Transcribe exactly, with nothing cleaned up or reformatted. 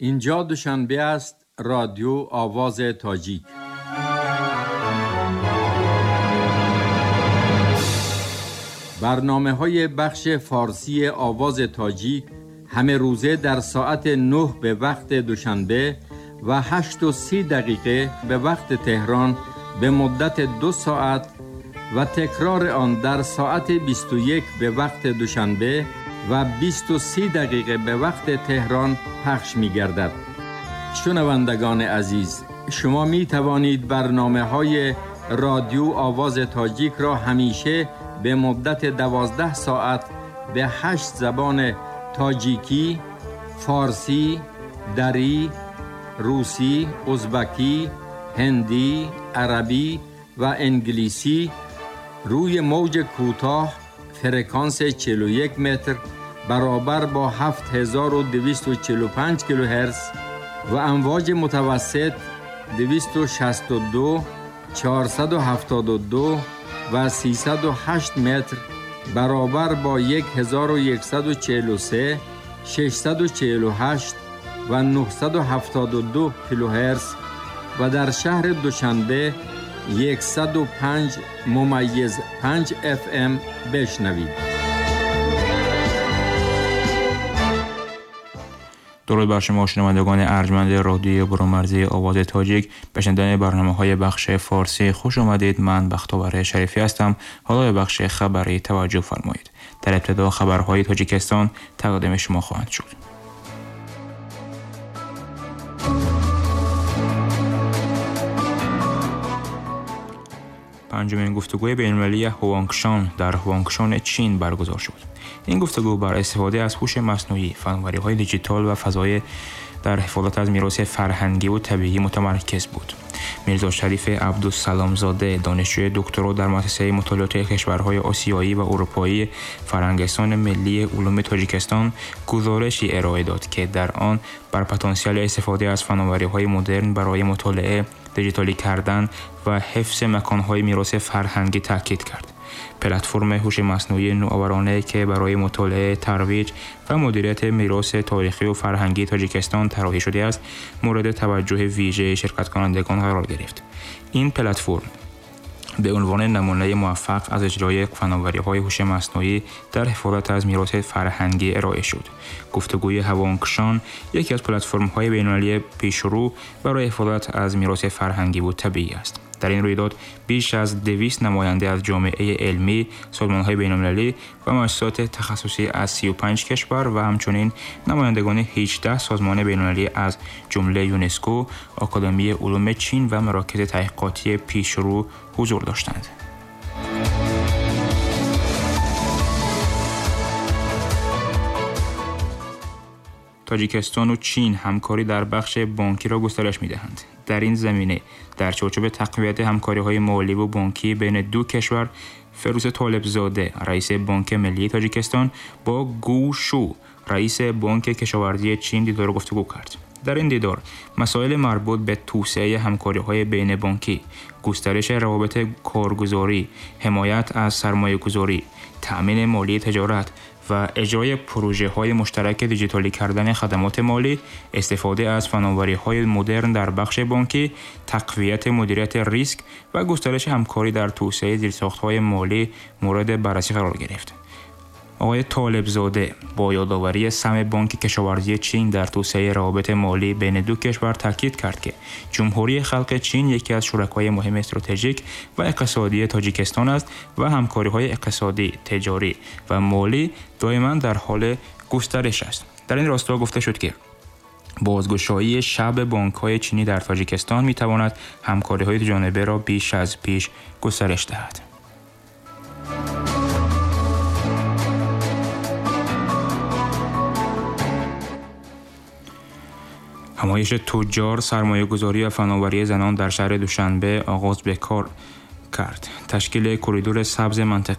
Инҷо Душанбе аст, Радио Овози Тоҷик. Барномаҳои бахши форсии Овози Тоҷик ҳама рӯза дар соати нӯҳ ба вақти Душанбе ва ҳашт ва си дақиқа ба вақти Теҳрон ба муддати ду соат ва такрори он дар соати бисту як ба вақти Душанбе ва бисту се дақиқа ба вақти Теҳрон пахш мегардад. Шунавандагони азиз, шумо метавонед барномаҳои Радио Овози Тоҷикро ҳамеша ба муддати дувоздаҳ соат ба ҳашт забони тоҷикӣ, форсӣ, дарӣ, русӣ, узбакӣ, ҳиндӣ, арабӣ ва англисӣ рӯи мавҷи кӯтоҳ фреквенс чил ва як метр баробар бо ҳафт ҳазору дусаду чилу панҷ килогерц ва амвоҷи мутавассит дусаду шасту ду, чорсаду ҳафтоду ду ва сесаду ҳашт метр баробар бо як ҳазору яксаду чилу се, шашсаду чилу ҳашт ва нӯҳсаду ҳафтоду ду килогерц ва дар шаҳри Душанбе яксаду панҷ мумайиз панҷ эф эм бишнавед. Дуруд бар шумо шунавандагони арҷманди радиои бурунмарзии Овози Тоҷик. Ба шунидани барномаҳои бахши форсӣ хуш омадед. Ман Бахтовар Шарифӣ ҳастам. Ҳоло ба бахши хабарӣ таваҷҷӯҳ фармоед. Дар ибтидо хабарҳои Тоҷикистон тақдими шумо хоҳанд шуд. Панҷумин гуфтугӯи байналмилалии Ҳуангшан дар Ҳуангшани Чин баргузор шуд. Ин гуфтугӯ бар истифода аз ҳуши маснуӣ, фановариҳои диҷитал ва фазои дар ҳифозат аз мероси фарҳангӣ ва табиӣ мутамарказ буд. Мирзо Шариф Абдусаломзода, донишҷӯи докторо дар муассисаи мутолиоти кишварҳои осиёӣ ва аврупоӣ Фарҳангистони миллии улуми Тоҷикистон гузоришe ироа дод, ки дар он бар потенсиали истифода аз фановариҳои модерн барои мутолиа, диҷиталӣ кардан ва ҳифзи маконҳои мероси фарҳангӣ таъкид кард. Платформи ҳуши маснуӣ нӯоваронае ки барои мутолиа, тарвиҷ ва мудирияти мероси таърихӣ ва фарҳангии Тоҷикистон тарроҳӣ шудааст, мавриди таваҷҷӯҳи вижаи ширкаткунандагон қарор гирифт. Ин платформ ба унвони намунаи муваффақ аз иҷрои фановариҳои ҳуши маснуӣ дар ҳифозат аз мероси фарҳангӣ ироа шуд. Гуфтугӯи Ҳуангшан яке аз платформҳои байналмилалии пешрӯ барои ҳифозат аз мероси фарҳангӣ ва табиӣ аст. Дар ин рӯйдод беш аз дусад намоянда аз ҷомеаи илмӣ, созмонҳои байналмилалӣ ва муассисоти тахассусӣ аз си ва панҷ кишвар ва ҳамчунин намояндагони ҳаждаҳ созмони байналмилалӣ аз ҷумла ЮНЕСКО, Академияи улуми Чин ва марокизи таҳқиқотии пешрӯ ҳузур доштанд. Тоҷикистон ва Чин ҳамкорӣ дар бахши бонкиро густариш медиҳанд. Дар ин замина дар чорчӯби тақвияти ҳамкориҳои молӣ ва бонкӣ байни ду кишвар, Фирӯз Толибзода, раиси Бонки Миллии Тоҷикистон, бо Гу Шу, раиси Бонки Кишоварзии Чин дидор ва гуфтугӯ кард. Дар ин дидор масоили марбут ба توسعه ҳамкориҳои байнибонкӣ, густариши равобити коргузорӣ, ҳимоят аз сармоягузорӣ, таъмини молии тиҷорат ва иҷрои пурожаҳои муштараки диҷиталӣ кардани хадамоти молӣ, истифода аз фановариҳои модерн дар бахши бонкӣ, тақвияти мудирияти риск ва густариши ҳамкорӣ дар توسعه зирсохтҳои молӣ мавриди баррасӣ қарор гирифт. Оқои Толибзода бо ёдоварии саҳми Бонки Кишоварзии Чин дар توسعه равобити молӣ байни ду кишвар таъкид кард, ки Ҷумҳурии Халқи Чин яке аз шуракои муҳими стратегик ва иқтисодии Тоҷикистон аст ва ҳамкориҳои иқтисодӣ, тиҷорӣ ва молӣ доимо дар ҳоли густариш аст. Дар ин росто гуфта шуд, ки бозгушоии шаби бонкҳои чинӣ дар Тоҷикистон метавонад ҳамкориҳои дуҷонибаро беш аз пеш густариш диҳад. Ҳамоиши туҷҷор, сармоягузорӣ ва фановарии занон дар шаҳри Душанбе оғоз ба кор кард. Ташкили коридори сабзи мантиқавӣ